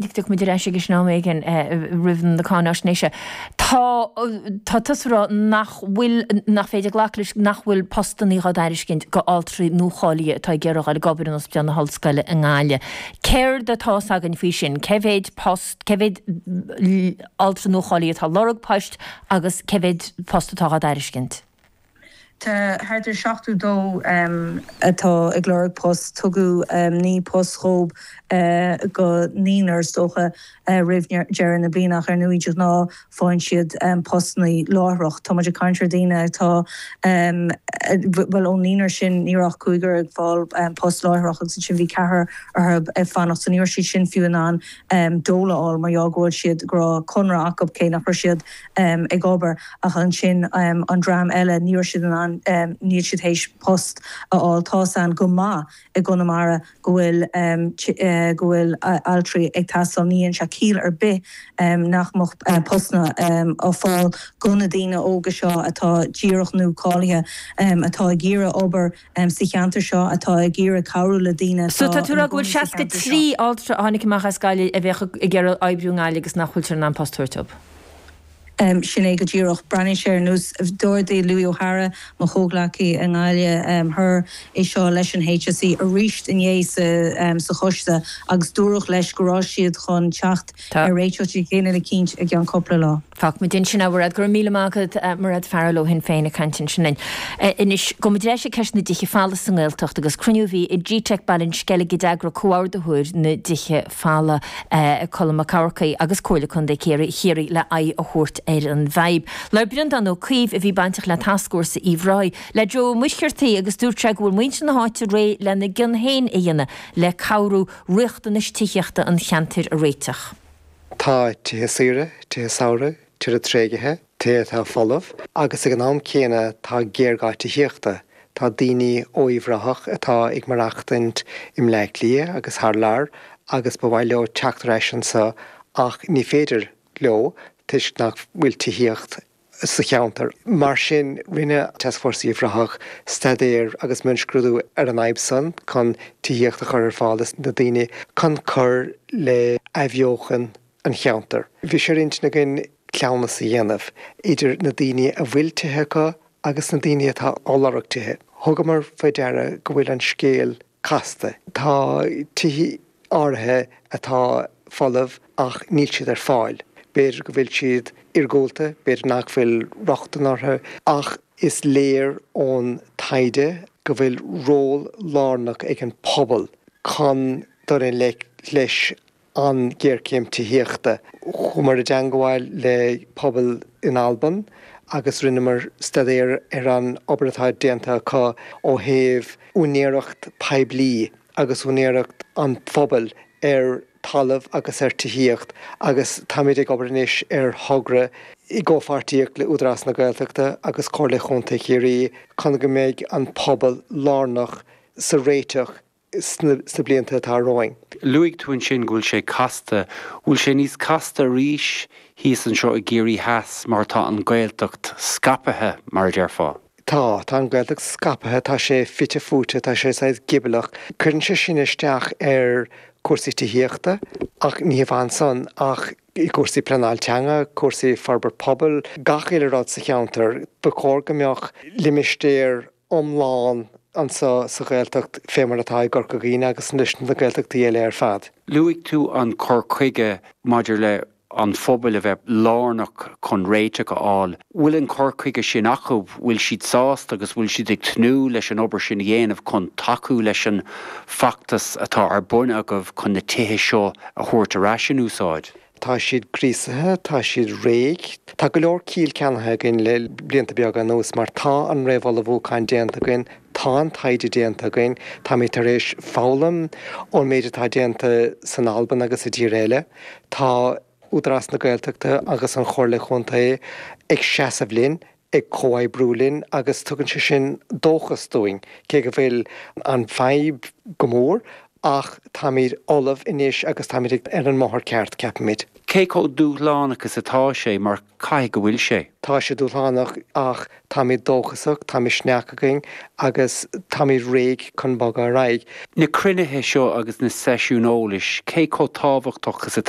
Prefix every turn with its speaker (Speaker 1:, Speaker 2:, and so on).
Speaker 1: Tiocfaidh muid ar ais aige sin am éigin roimh na cáináisnéise. Tá, tá tusa ag rá nach bhfuil, nach féidir glacadh leis nach bhfuil postannaí dhá dtairiscint go altraí nuacháilithe atá ag iarraidh dhul ag obair in Ospidéal na hOllscoile i nGaillimh. Céard atá fhios againn faoi sin? Cé mhéid post, cé mhéid altra nuacháilithe atá ag lorg poist agus cé mhéid post atá dhá dtairiscint?
Speaker 2: Tá thart ar 72 atá ag lorg post. Tugadh 9 post dhób go naonúr is dócha roimh deireadh na bliana ach ar ndóigh de ghnáth faigheann siad postanna láithreach. Tá muid ag caint ar daoine atá, bhuel ón naonúr sin ní raibh ach cúigear ag fáil post láithreach agus ansin bhí ceathrar orthu ag fanacht so ní raibh siad sin fiú in ann dole a fháil mar gheall go bhfuil siad, go raibh conradh acu cé nach raibh siad ag obair ach ansin an dream eile ní raibh siad in ann, níl siad théis post a fháil. Tá's a'inn go maith i gConamara go bhfuil, go bhfuil altraí ag teastáil. Ní dhéanann sé ciall ar bith nach mbeadh postanna á fáil go na daoine óga seo atá díreach nua-cáilithe, atá ag iarraidh obair sa cheantar seo, atá ag iarraidh cabhrú le daoine
Speaker 1: So
Speaker 2: atá
Speaker 1: tá tú ag
Speaker 2: ina
Speaker 1: rá go bhfuil
Speaker 2: gcónaí sa cheantar seo.
Speaker 1: 63 altra a tháinig amach as Gaillimh a bheadh ag iarraidh oibriú i nGaillimh agus nach bhfuiltear in ann post a thabhairt dóibh?
Speaker 2: Sin é go díreach. Breathnaíonn sé ar nós, d'ardaigh Louis O'Hara, mo chomhghleacaí i nGaillimh Thoir, é seo leis an HSE arís inné sa choiste agus dúradh leis go raibh siad chun teacht ar réiteach éigin eicínt i gceann cúpla lá.
Speaker 1: Fágfaidh muid ansin é, a Mhairéad. Go raibh míle maith agat, Mairéad Farrell ó Shinn Féin ag caint ansin linn. Anois, gabhfaidh muid ar ais ag ceist na dtithe folamh sa nGaeltacht agus cruinniú a bhí i gteic Baile an Sceilg a d'eagraigh comhordaitheoir na dtithe folamh, Colm Mac Eamharcaigh agus Comhairle Contae Chiarraí le aghaidh a thabhairt ar an bhfadhb. Labhair Breandán Ó Caoimh, a bhí bainteach le Tascfhórsa Uíbh Ráthaigh, le Joe Ó Muircheartaigh agus dúirt sé go bhfuil muintir na háite réidh lena gcion féin a dhéanamh le cabhrú riachtanais tithíochta an cheantair a réiteach.
Speaker 3: Tá tithe saoire, tithe samhraidh, tithe tréigthe, tithe atá folamh agus ag an am céanna tá géarghá tithíochta. Tá daoine ó Uíbh Ráthach atá ag maireachtaint i mBleá Cliath agus thar lear agus ba mhaith leo teacht ar ais anseo ach ní féidir leo toisc nach bhfuil tithíocht sa cheantar. Mar sin, rinne Tascfhórsa Uíbh Ráthach staidéar agus mionscrúdú ar an fhadhb san chun tithíocht a chur ar fáil dos na daoine chun cur le athbheochan an cheantair. Bhí sé ar intinn againn cleamhnas a dhéanamh idir na daoine a bhfuil tithe acu agus na daoine atá á lorg tithe. Thugamar faoi deara go bhfuil an scéal casta. Tá tithe áirithe atá folamh ach níl siad ar fáil. B'fhéidir go bhfuil siad iargúlta, b'fhéidir nach bhfuil rochtain orthu ach is léir ón taighde go bhfuil ról lárnach ag an pobal chun dul i ngleic leis an ghéarchéim tithíochta. Chuamar i dteangmháil le pobal in Albain agus rinneamar staidéar ar an obair atá déanta acu ó thaobh úinéireacht poiblí agus úinéireacht an phobail ar talamh agus ar tithíocht agus táimid ag obair anois ar thogra i gcomhpháirtíocht le Údarás na Gaeltachta agus Comhairle Chontae Chiarraí chun go mbeidh an pobal lárnach sa réiteach sna blianta atá romhainn.
Speaker 4: Luaigh tú ansin go bhfuil sé casta. Bhfuil sé níos casta arís thíos anseo i gCiarraí Theas mar tá an Ghaeltacht scaipthe, mar a déarfá?
Speaker 3: Tá. Tá an Ghaeltacht scaipthe, tá sé fite fuaite, tá sé saghas gioblach. Cuireann sé sin isteach ar chúrsaí tithíochta ach ní hamháin san ach i gcúrsaí pleanáil teanga, cúrsaí forbairt pobail, gach uile rud sa cheantar. Ba chóir go mbeadh limistéar iomlán anseo sa Ghaeltacht fé mar atá i gCorca Dhuibhne agus leis na Gaeltachtaí eile ar fad.
Speaker 4: Luaigh tú an cur chuige maidir le an phobail a bheith lárnach chun réiteach a fháil. Bhfuil an cur chuige sin acu? Bhfuil siad sásta agus bhfuil siad ag tnúth leis an obair sin a dhéanamh chun tacú leis an bhfeachtas atá ar bun agaibh chun na tithe seo a thabhairt ar ais in úsáid?
Speaker 3: Tá siad gríosaithe, tá siad réidh. Tá go leor ciall ceannaithe againn le blianta beaga anuas mar tá an réamhullmhúchán déanta againn, tá an taighde déanta againn, táimid tar éis foghlaim ón méid atá déanta san Albain agus i dtíortha eile. Tá Údarás na Gaeltachta agus an Chomhairle Chontae ag seasamh linn, ag comhoibriú linn agus tugann sé sin dóchas dúinn, cé go bhfuil an fadhb go mór. Ach táimid ullamh anois agus táimid ar an mbóthar ceart, ceapaimid.
Speaker 4: Cé chomh dúshlánach is atá sé, mar caithfidh go bhfuil sé?
Speaker 3: Tá sé dúshlánach ach táimid dóchasach, tá misneach againn agus táimid réidh chun bogadh ar aghaidh.
Speaker 4: Na cruinnithe seo agus na seisiúin eolais, cé chomh tábhachtach is atá?